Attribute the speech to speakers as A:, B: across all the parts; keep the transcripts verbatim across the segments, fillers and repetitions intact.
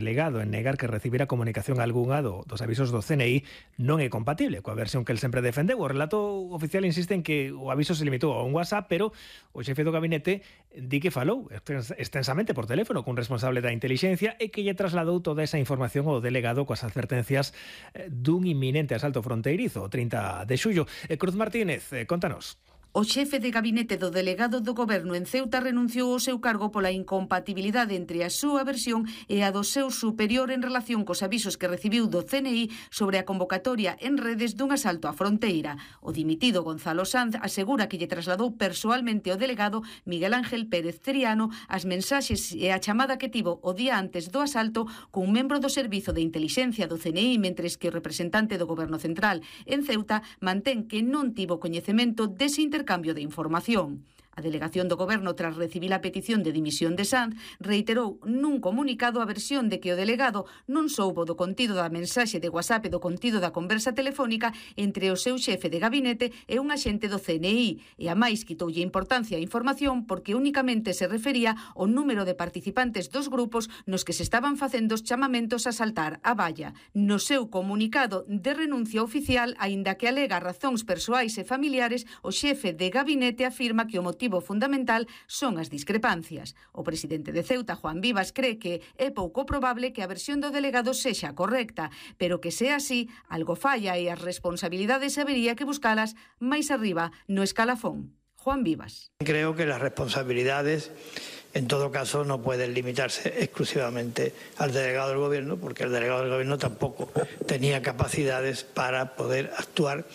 A: legado en negar que recibira comunicación algunha do, dos avisos do C N I non é compatible coa versión que el sempre defendeu. O relato oficial insiste en que o aviso se limitou a un WhatsApp, pero o xefe do gabinete di que falou extensamente por teléfono cun responsable da intelixencia e que lle trasladou toda esa información ao delegado coas advertencias dun inminente asalto fronteirizo o trinta de xullo. Cruz Martínez, contanos.
B: O xefe de gabinete do delegado do Goberno en Ceuta renunciou ao seu cargo pola incompatibilidade entre a súa versión e a do seu superior en relación cos avisos que recibiu do C N I sobre a convocatoria en redes dun asalto á fronteira. O dimitido Gonzalo Sanz asegura que lle trasladou persoalmente ao delegado Miguel Ángel Pérez Triano as mensaxes e a chamada que tivo o día antes do asalto cun membro do Servizo de Intelixencia do C N I, mentres que o representante do Goberno Central en Ceuta mantén que non tivo coñecemento dese intercambio cambio de información. A delegación do Goberno, tras recibir a petición de dimisión de Sanz, reiterou nun comunicado a versión de que o delegado non soubo do contido da mensaxe de WhatsApp e do contido da conversa telefónica entre o seu xefe de gabinete e un axente do C N I, e a máis quitoulle importancia á información porque únicamente se refería ao número de participantes dos grupos nos que se estaban facendo os chamamentos a saltar a valla. No seu comunicado de renuncia oficial, aínda que alega razóns persoais e familiares, o xefe de gabinete afirma que o motivo fundamental son as discrepancias. O presidente de Ceuta, Juan Vivas, cree que é pouco probable que a versión do delegado sexa correcta, pero que sea así, algo falla e as responsabilidades habería que buscalas máis arriba no escalafón. Juan Vivas.
C: Creo que las responsabilidades en todo caso no pueden limitarse exclusivamente al delegado del Gobierno, porque el delegado del Gobierno tampoco tenía capacidades para poder actuar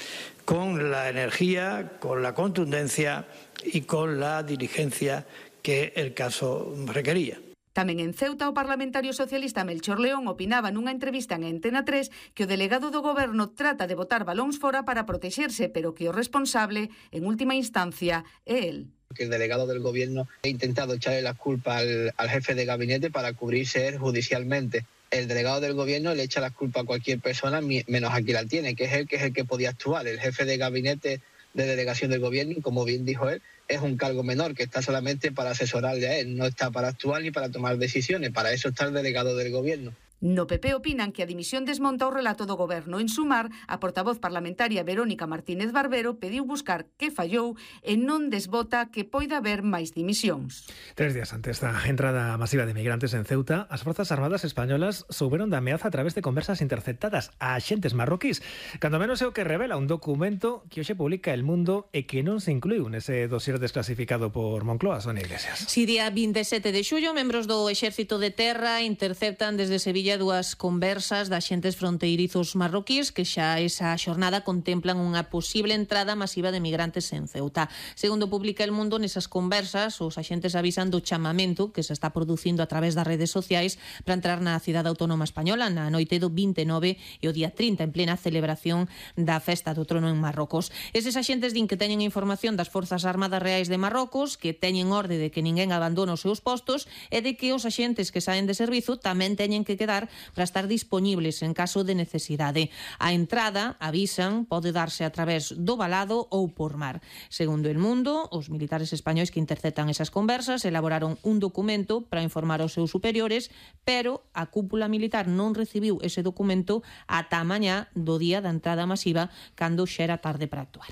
C: con la energía, con la contundencia y con la diligencia que el caso requería.
B: Tamén en Ceuta, o parlamentario socialista Melchor León opinaba nunha entrevista en Antena tres que o delegado do Goberno trata de botar balóns fora para protexerse, pero que o responsable, en última instancia, é el.
D: Que el delegado del Gobierno ha intentado echarle la culpa al, al jefe de gabinete para cubrirse él judicialmente. El delegado del Gobierno le echa la culpa a cualquier persona menos a quien la tiene, que es él que es el que podía actuar. El jefe de gabinete de delegación del Gobierno, y como bien dijo él, es un cargo menor que está solamente para asesorarle a él, no está para actuar ni para tomar decisiones, para eso está el delegado del Gobierno.
B: No P P opinan que a dimisión desmonta o relato do Goberno. En sumar, a portavoz parlamentaria Verónica Martínez Barbero pediu buscar que fallou e non desbota que poida haber máis dimisións.
A: Tres días antes da entrada masiva de migrantes en Ceuta, as Forzas Armadas españolas souberon da ameaza a través de conversas interceptadas a axentes marroquís. Cando menos é o que revela un documento que hoxe publica El Mundo e que non se incluiu nese dossier desclasificado por Moncloa, Sonia Iglesias.
E: Si día vinte e sete de xullo, membros do Exército de Terra interceptan desde Sevilla dúas conversas de axentes fronteirizos marroquíes que xa esa xornada contemplan unha posible entrada masiva de migrantes en Ceuta. Segundo publica El Mundo, nesas conversas os axentes avisan do chamamento que se está producindo a través das redes sociais para entrar na cidade autónoma española na noite do vinte e nove e o día trinta, en plena celebración da festa do trono en Marrocos. Eses axentes din que teñen información das Forzas Armadas Reais de Marrocos, que teñen orde de que ninguén abandone os seus postos e de que os axentes que saen de servizo tamén teñen que quedar para estar disponibles en caso de necesidade. A entrada, avisan, pode darse a través do valado ou por mar. Segundo El Mundo, os militares españois que interceptan esas conversas elaboraron un documento para informar aos seus superiores, pero a cúpula militar non recibiu ese documento ata a mañá do día da entrada masiva, cando xa era tarde para actuar.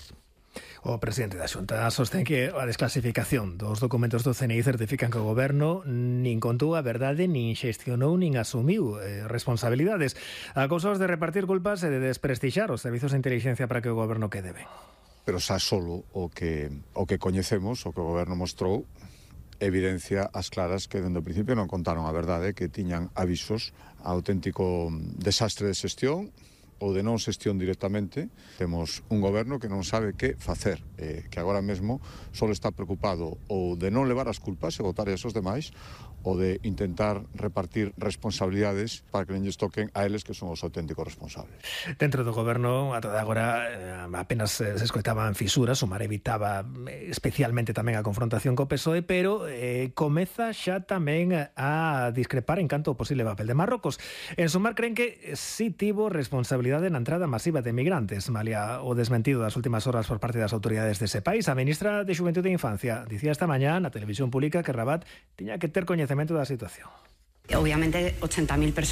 A: O presidente da Xunta sostén que a desclasificación dos documentos do C N I certifican que o Goberno nin contou a verdade, nin xestionou, nin asumiu eh, responsabilidades. Acusados de repartir culpas e de desprestixar os servizos de inteligencia para que o Goberno quede ben.
F: Pero xa solo o que, o que coñecemos, o que o Goberno mostrou, evidencia as claras que dende o principio non contaron a verdade, que tiñan avisos a auténtico desastre de xestión ou de non xestión directamente. Temos un goberno que non sabe que facer, eh, que agora mesmo só está preocupado ou de non levar as culpas e botar aos demais, ou de intentar repartir responsabilidades para que non lles toquen a eles que son os auténticos responsables.
A: Dentro do goberno, a toda agora, eh, apenas se escoitaban fisuras, o Mar evitaba especialmente tamén a confrontación co P S O E, pero eh, comeza xa tamén a discrepar en canto ao posible papel de Marrocos. En sumar, creen que si tivo responsabilidade na entrada masiva de migrantes, malia o desmentido das últimas horas por parte das autoridades dese país. A ministra de Xuventude e Infancia dicía esta mañá na televisión pública que Rabat tiña que ter coñecemento da situación.
G: Obviamente ochenta mil personas